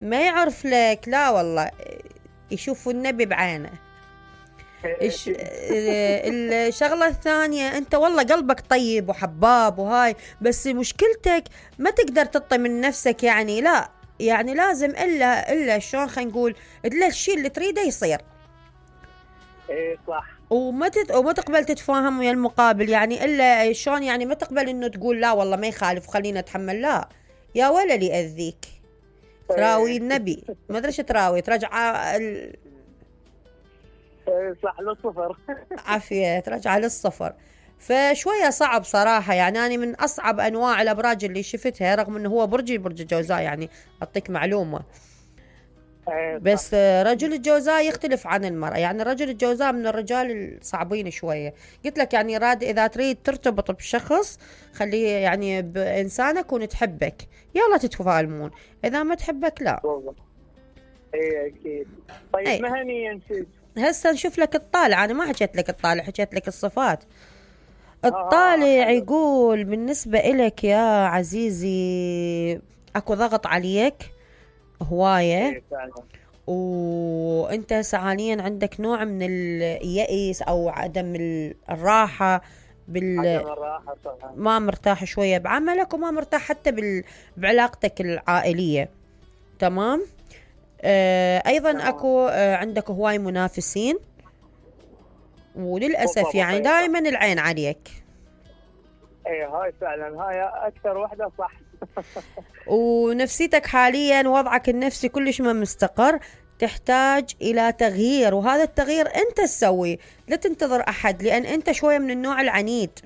ما يعرف لك، لا والله، يشوف النبي بعينه. الشغلة الثانية، انت والله قلبك طيب وحباب وهاي، بس مشكلتك ما تقدر تطي من نفسك، يعني لا، يعني لازم الا شلون خلينا نقول، الا الشيء اللي تريده يصير. ايه صح. وما تقبل تتفاهم ويا المقابل، يعني الا شلون، يعني ما تقبل انه تقول لا والله ما يخالف وخلينا نتحمل، لا يا ولا اللي يأذيك تراوي ايه. النبي، ما ادري ايش تراوي، ترجع ايه صح، للصفر. عافية، ترجع للصفر. فشوية صعب صراحة، يعني أنا من أصعب أنواع الأبراج اللي شفتها، رغم أنه هو برج الجوزاء، يعني أعطيك معلومة. ايه صح. بس رجل الجوزاء يختلف عن المرأة، يعني رجل الجوزاء من الرجال الصعبين شوية. قلت لك يعني إذا تريد ترتبط بشخص، خليه يعني بإنسانك ونتحبك، يلا تتفاهمون. إذا ما تحبك لا. والله. ايه اكيد. طيب أي، مهنيا نسيت. هسه نشوف لك الطالع، أنا ما حكيت لك الطالع، حكيت لك الصفات. الطالع حلو. يقول بالنسبة إلك يا عزيزي، أكو ضغط عليك هواية، ايه فعلا. وانت هسه حاليا عندك نوع من اليأس او عدم الراحة عدم الراحة صح. ما مرتاح شوية بعملك، وما مرتاح حتى بعلاقتك العائلية. تمام. ايضا تمام. اكو عندك هواي منافسين، وللأسف بالضبط يعني ايه صح. دائما العين عليك. ايه هاي فعلا، هاي اكثر وحدة صح. ونفسيتك حاليا وضعك النفسي كلش ما مستقر، تحتاج إلى تغيير، وهذا التغيير أنت تسويه، لا تنتظر أحد، لأن أنت شوية من النوع العنيد.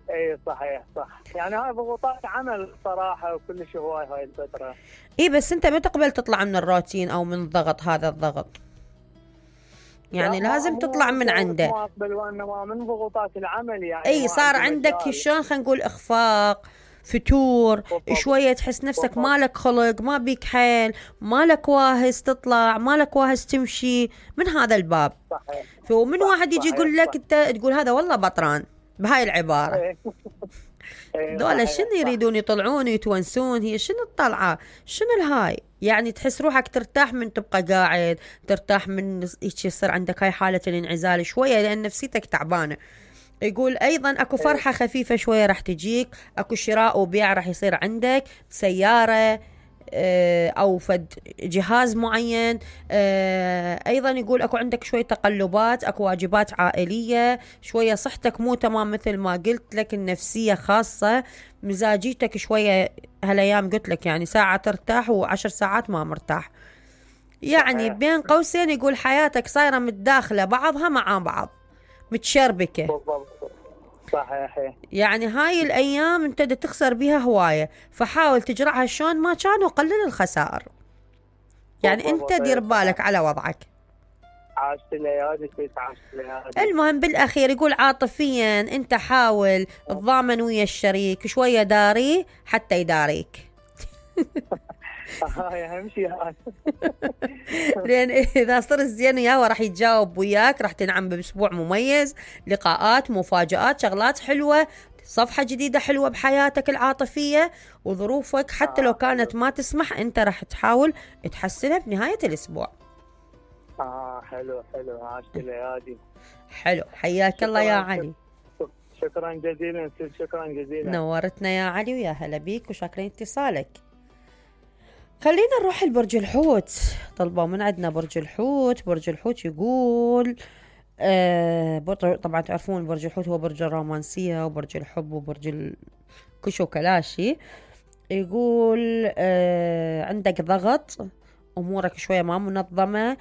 ايه صحيح صح، يعني هاي ضغوطات عمل صراحة وكلش هواي هاي الفترة. إيه بس أنت ما تقبل تطلع من الروتين أو من الضغط، هذا الضغط لا يعني ما لازم هو تطلع من ضغط عنده. ما اقبل، وانما من ضغوطات العمل يعني أي ما صار عندي عندك مجال. شلون خلينا نقول إخفاق، فتور، بالضبط. شوية تحس نفسك بالضبط. مالك خلق، ما بيك حيل، مالك واهس تطلع، مالك واهس تمشي من هذا الباب. صحيح. فمن صح واحد يجي صحيح يقول لك، صح. انت تقول هذا والله بطران بهاي العبارة. ايه. ايه دولة شنو صحيح صح. يريدون يطلعون ويتونسون، هي شنو الطلعة، شنو الهاي، يعني تحس روحك ترتاح من تبقى قاعد، ترتاح من يصير عندك هاي حالة الانعزال شوية، لأن نفسيتك تعبانة. يقول أيضا أكو ايه. فرحة خفيفة شوية راح تجيك، أكو شراء وبيع راح يصير عندك سيارة، أو فد جهاز معين. أيضا يقول أكو عندك شوية تقلبات، أكو واجبات عائلية شوية، صحتك مو تمام مثل ما قلت لك، النفسية خاصة، مزاجيتك شوية هالأيام قلت لك يعني ساعة ترتاح وعشر ساعات ما مرتاح، يعني صحيح. بين قوسين يقول حياتك صايرة متداخلة بعضها مع بعض، متشربكة. بالضبط. صحيح. يعني هاي الأيام أنت دا تخسر بيها هواية، فحاول تجرعها شلون ما كان، وقلل الخسائر، يعني أنت بالضبط دير ايه صحيح. بالك على وضعك. عاشت الليالي فيك، عاشت الليالي. المهم بالأخير يقول عاطفيا أنت حاول تضامن ويا الشريك شوية، داري حتى يداريك. هاي اهم شيء هاي. لأن إذا صرت زين وياه راح يتجاوب وياك، راح تنعم بأسبوع مميز، لقاءات، مفاجآت، شغلات حلوة، صفحة جديدة حلوة بحياتك العاطفية، وظروفك حتى لو كانت حلو. ما تسمح أنت راح تحاول تحسنها بنهاية الأسبوع. حلو حلو، عاشت الليالي. حلو، حياك الله يا شكرا علي. شكرا جزيلا، شكرا جزيلا. نورتنا يا علي، ويا هلا بيك، وشاكرين اتصالك. خلينا نروح لبرج الحوت. طلبوا من عندنا برج الحوت. برج الحوت يقول طبعا تعرفون برج الحوت هو برج الرومانسية وبرج الحب وبرج الكشو كلاشي. يقول عندك ضغط، أمورك شوية ما منظمة،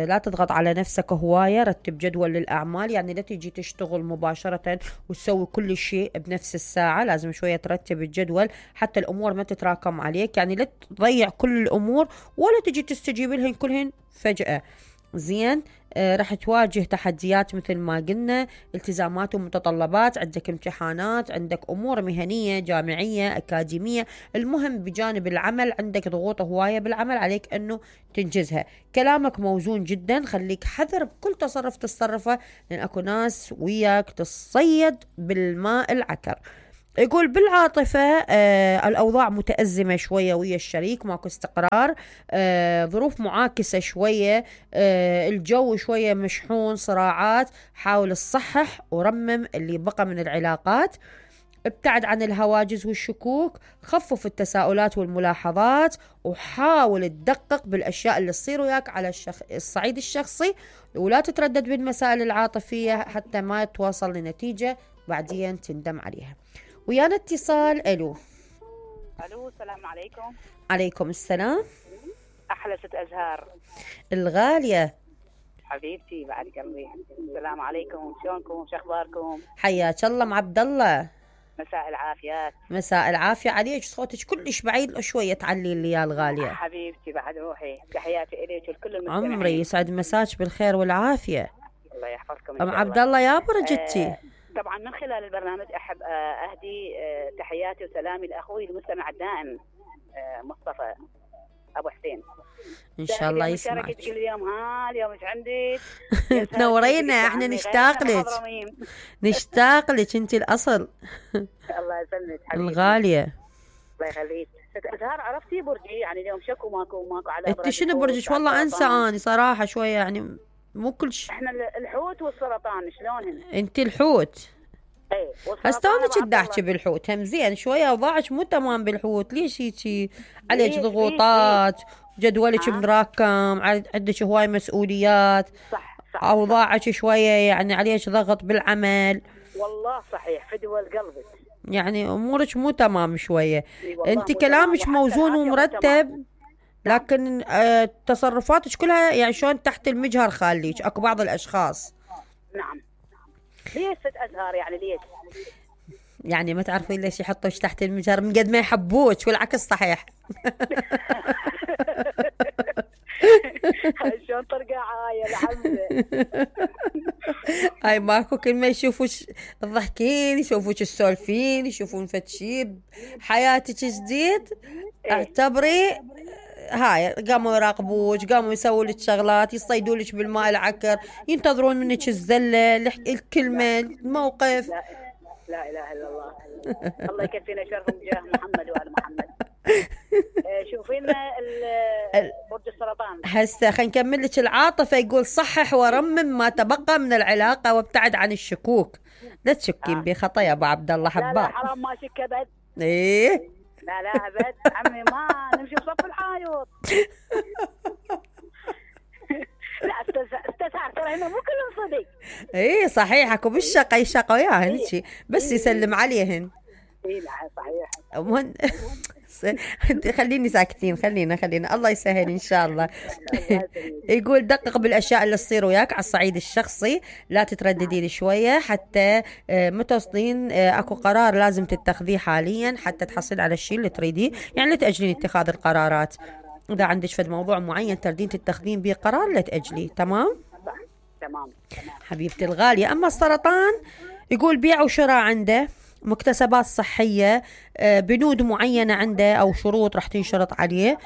لا تضغط على نفسك هواية، رتب جدول للأعمال، يعني لا تجي تشتغل مباشرة وتسوي كل شيء بنفس الساعة، لازم شوية ترتب الجدول حتى الأمور ما تتراكم عليك، يعني لا تضيع كل الأمور ولا تجي تستجيب لهن كلهن فجأة. زين. راح تواجه تحديات مثل ما قلنا، التزامات ومتطلبات، عندك امتحانات، عندك أمور مهنية جامعية أكاديمية، المهم بجانب العمل عندك ضغوط هواية بالعمل عليك أنه تنجزها. كلامك موزون جدا، خليك حذر بكل تصرف تصرفه، لأن أكو ناس وياك تصيد بالماء العكر. يقول بالعاطفة الأوضاع متأزمة شوية ويا الشريك، ماكو استقرار، ظروف معاكسة شوية، الجو شوية مشحون، صراعات. حاول تصحح ورمم اللي بقى من العلاقات، ابتعد عن الهواجس والشكوك، خفف التساؤلات والملاحظات، وحاول تدقق بالأشياء اللي تصير وياك على الصعيد الشخصي، ولا تتردد بالمسائل العاطفية حتى ما توصل لنتيجة بعدين تندم عليها. ويانا اتصال. الو السلام عليكم. عليكم السلام. احلى ست ازهار الغالية حبيبتي بعد قلبي. السلام عليكم، شلونكم، شو اخباركم؟ حياك الله ام عبد الله. مساء العافيات. مساء العافية عليك، صوتك كلش بعيد شوية، تعلي لي يا الغالية. حبيبتي بعد روحي، تحياتي اليك ولكل المستمعين. عمري يسعد مساك بالخير والعافية. الله يحفظكم ام عبد الله يا برجتي. طبعا من خلال البرنامج احب اهدي تحياتي وسلامي لاخوي المستمع الدائم مصطفى ابو حسين. ان شاء الله يسمعك. كل يوم اليوم ايش عندك؟ تنورينا، احنا نشتاق لك، نشتاق لك، انت الاصل. الله يسلمك حبيبتي الغالية. الله يخليك. أزهار عرفتي برجي يعني اليوم شكو ماكو على انت شنو برجك؟ والله انسى اني صراحة شوية يعني مو كل شيء. احنا الحوت والسرطان شلونهن؟ انت الحوت. ايه هسه انا كنت احكي بالحوت هم زين شويه، اوضاعك مو تمام بالحوت. ليش هيجي؟ عليك ضغوطات، جدولك مراكم، عندك هواي مسؤوليات. صح اوضاعك شويه يعني عليك ضغط بالعمل. والله صحيح فدوى قلبك، يعني امورك مو تمام شويه. انت كلامك موزون ومرتب، لكن تصرفاتك كلها يعني شلون تحت المجهر خاليك. اكو بعض الاشخاص. نعم. ليش ست أزهار يعني ليش؟ يعني ما تعرفين ليش يحطوش تحت المجهر؟ من قد ما يحبوك، والعكس صحيح. شلون ترقع هاي الحمزة. هاي ماكو، كل ما يشوفوك تضحكين، يشوفوك تسولفين، يشوفون فتشي حياتك جديد، اعتبري هاي قاموا يراقبوك، قاموا يسووا لك شغلات، يصيدوا لك بالماء العكر، ينتظرون منك الزله، الكلمه، الموقف. لا اله الا الله. الله يكفينا شرهم جاه محمد وآل محمد. شوفينا برج السرطان. هسه خلينا نكمل لك العاطفه. يقول صحح ورمم ما تبقى من العلاقه وابتعد عن الشكوك. لا تشكين بخطا يا ابو عبد الله حباب. لا حرام ما شك ابد. ايه لا ابد عمي، ما نمشي بصف الحايط. لا استسعر ترى هنا مو كلهم صدق. ايه صحيح، اكو بالشقه يشقوا وياهن هيك بس يسلم عليهن. ايه لا صحيح. خليني ساكتين، خلينا الله يسهل ان شاء الله. يقول دقق بالاشياء اللي تصير وياك على الصعيد الشخصي، لا تترددين شويه حتى متصلين. اكو قرار لازم تتخذيه حاليا حتى تحصل على الشيء اللي تريديه، يعني لا تاجلين اتخاذ القرارات. اذا عندك فد موضوع معين تردين تتخذين به قرار لا تاجليه. تمام تمام حبيبتي الغاليه. اما السرطان يقول بيع وشراء عنده، مكتسبات صحية، بنود معينة عنده أو شروط راح تنشرط عليه،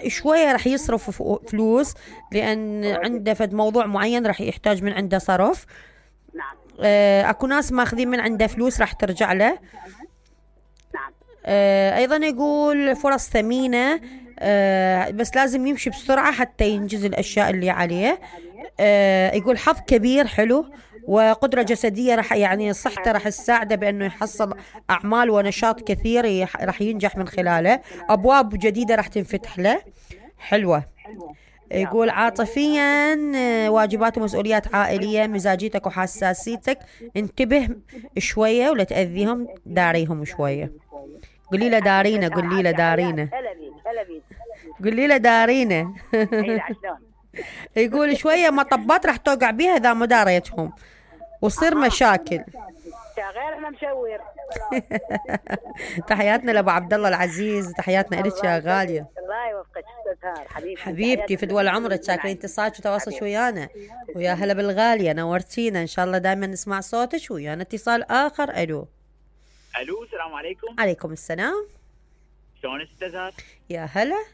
شوية راح يصرف فلوس لأن عنده فد موضوع معين راح يحتاج من عنده صرف. نعم. أكو ناس ماخذين من عنده فلوس راح ترجع له. نعم. أيضا يقول فرص ثمينة، بس لازم يمشي بسرعة حتى ينجز الأشياء اللي عليه. يقول حظ كبير حلو وقدرة جسدية راح يعني صحته راح تساعده بأنه يحصل أعمال ونشاط كثير راح ينجح من خلاله. أبواب جديدة راح تنفتح له حلوة. يقول عاطفيا واجبات ومسؤوليات عائلية، مزاجيتك وحساسيتك انتبه شوية ولا تأذيهم، داريهم شوية. قولي له دارينا، قولي له دارينا، قولي له دارينا. يقول شوية مطبات راح توقع بيها إذا ما داريتهم وصير مشاكل. غير احنا مشوير. تحياتنا لابو عبد الله العزيز، تحياتنا لك يا غاليه. الله يوفقك استاذ حبيبتي. حبيبتي في دول عمرك، شاكرين اتصالك وتواصلك ويانا. ويا هلا بالغاليه، نورتينا. ان شاء الله دائما نسمع صوتك. ويانا اتصال اخر. الو السلام عليكم. عليكم السلام. شلون استاذ؟ يا هلا،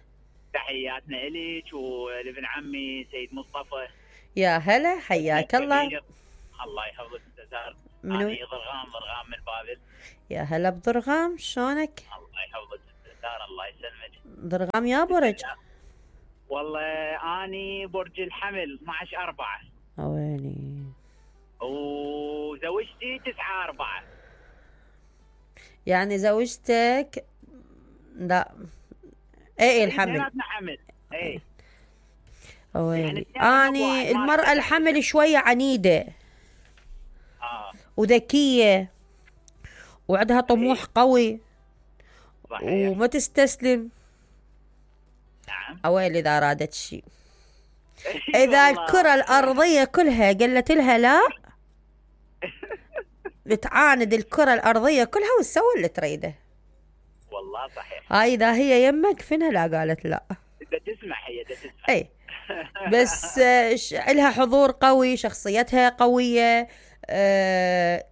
تحياتنا الك ولابن عمي سيد مصطفى. يا هلا، حياك الله. الله يحفظك استاذ. منو؟ أنا ضرغام من بابل. يا هلا بضرغام، شلونك؟ الله يحفظك دار، الله يسلمك. ضرغام يا برج؟ والله اني برج الحمل 12/4. ويلي. وزوجتي 9/4. يعني زوجتك لا اي الحمل. اثنيناتنا حمل. اي ويلي. يعني اني المرأة الحمل شوية عنيدة وذكية وعندها طموح قوي. صحيح. وما تستسلم. نعم. اويلي اذا ارادت شيء. اذا الكرة الارضية كلها قالت لها لا بتعاند الكرة الارضية كلها وتسوي اللي تريده. والله صحيح. هاي اذا هي يمك فينها لا قالت لا. بدها تسمع، هي بدها تسمع. اي بس لها حضور قوي، شخصيتها قوية،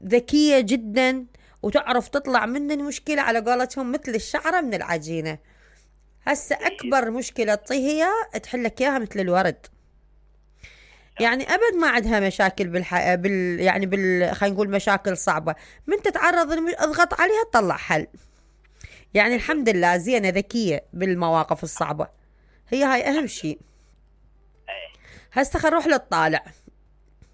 ذكية جدا، وتعرف تطلع من المشكلة على قولتهم مثل الشعرة من العجينة. هسه أكبر مشكلة هي تحلك إياها مثل الورد. يعني أبد ما عندها مشاكل خلينا نقول مشاكل صعبة. من تتعرض اضغط عليها تطلع حل. يعني الحمد لله زينة، ذكية بالمواقف الصعبة. هي هاي أهم شيء. هسه خل نروح للطالع.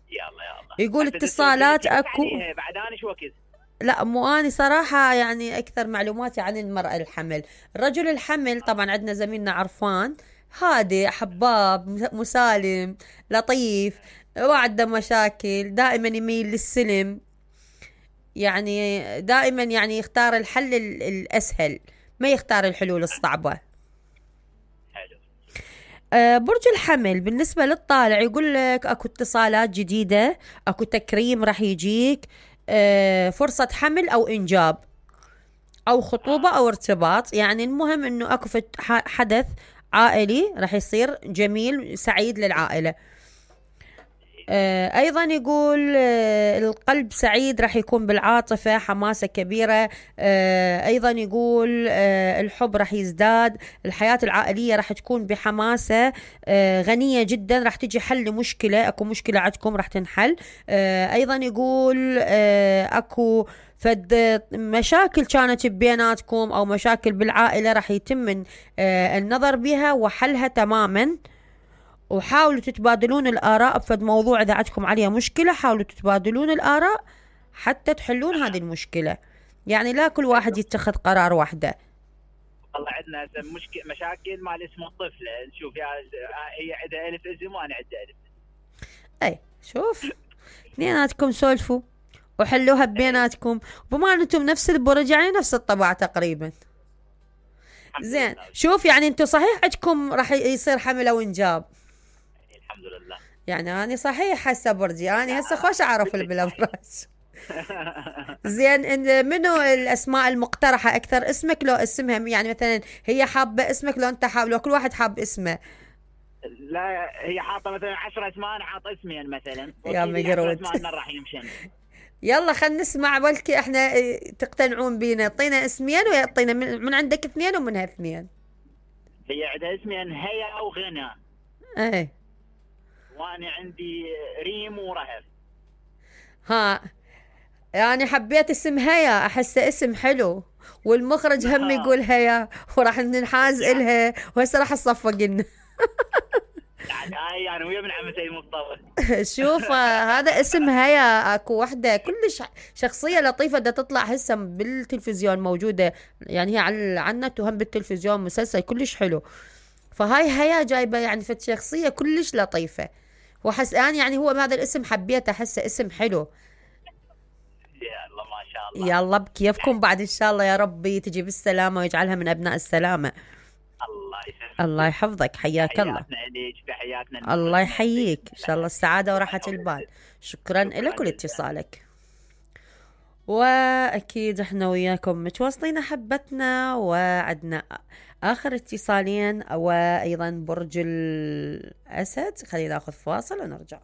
يلا يقول اتصالات اكو. بعد انا شو وقت؟ لا مو اني صراحة، يعني اكثر معلوماتي عن المرأة الحمل. الرجل الحمل طبعا عندنا زميلنا عرفان، هادئ حباب مسالم لطيف، ما عنده مشاكل، دائما يميل للسلم، يعني دائما يعني يختار الحل الاسهل، ما يختار الحلول الصعبة. برج الحمل بالنسبة للطالع يقول لك اكو اتصالات جديدة، اكو تكريم راح يجيك، فرصة حمل او انجاب او خطوبة او ارتباط. يعني المهم انه اكو حدث عائلي راح يصير جميل سعيد للعائلة. ايضا يقول القلب سعيد، راح يكون بالعاطفة حماسة كبيرة. ايضا يقول الحب راح يزداد، الحياة العائلية راح تكون بحماسة غنية جدا، راح تجي حل لمشكلة، اكو مشكلة عندكم راح تنحل. ايضا يقول اكو فد مشاكل كانت بيناتكم او مشاكل بالعائلة راح يتم النظر بها وحلها تماما. وحاولوا تتبادلون الآراء بفد موضوع، إذا عندكم عليها مشكلة حاولوا تتبادلون الآراء حتى تحلون هذه المشكلة. يعني لا كل واحد يتخذ قرار واحدة. والله عندنا مشاكل مال اسم الطفل. نشوف هي عندها ألف اسم وأنا عندي ألف. أي شوف اثنيناتكم سولفوا وحلوها بيناتكم، بما أنتم نفس البرج يعني نفس الطبع تقريبا. زين شوف يعني أنتم صحيح عندكم راح يصير حمل أو إنجاب. الحمد لله. يعني أنا صحيح هسه برجي، أنا هسه خوش أعرف بالأبراج. زين منو الأسماء المقترحة أكثر؟ اسمك لو اسمها، يعني مثلا هي حابة اسمك لو أنت حاب، لو كل واحد حاب اسمه. لا هي حاطة مثلا 10 اسماء، أنا حاطة اسمين مثلا. يا مقرود. اسماء راح يمشن. يلا خلينا نسمع بلكي احنا تقتنعون بينا. اعطينا اسمين ويعطينا من عندك اثنين ومنها اثنين. هي عندها اسمين هيا وغنى. ايه وانا عندي ريم ورهف. ها يعني حبيت اسم هيا، احسه اسم حلو، والمخرج هم يقول هيا وراح ننحاز الها وهسه راح تصفق لنا. يعني ويا من عم سيد مصطفى. شوف هذا اسم هيا، اكو وحده كلش شخصيه لطيفه بدها تطلع هسه بالتلفزيون موجوده، يعني هي على النت وهم بالتلفزيون مسلسل كلش حلو. فهاي هيا جايبه يعني فت شخصيه كلش لطيفه، وحس يعني هو بهذا الاسم حبيته، احسه اسم حلو. يلا ما شاء الله. يلا بكيفكم بعد ان شاء الله، يا ربي تجي بالسلامه ويجعلها من ابناء السلامه. الله يحفظك، حياك الله. الله يحييك، ان شاء الله السعاده وراحه البال. شكرا لك ولاتصالك. واكيد احنا وياكم متواصلين احبتنا، وعدنا اخر اتصالين وايضا برج الاسد. خلينا ناخذ فاصل ونرجع.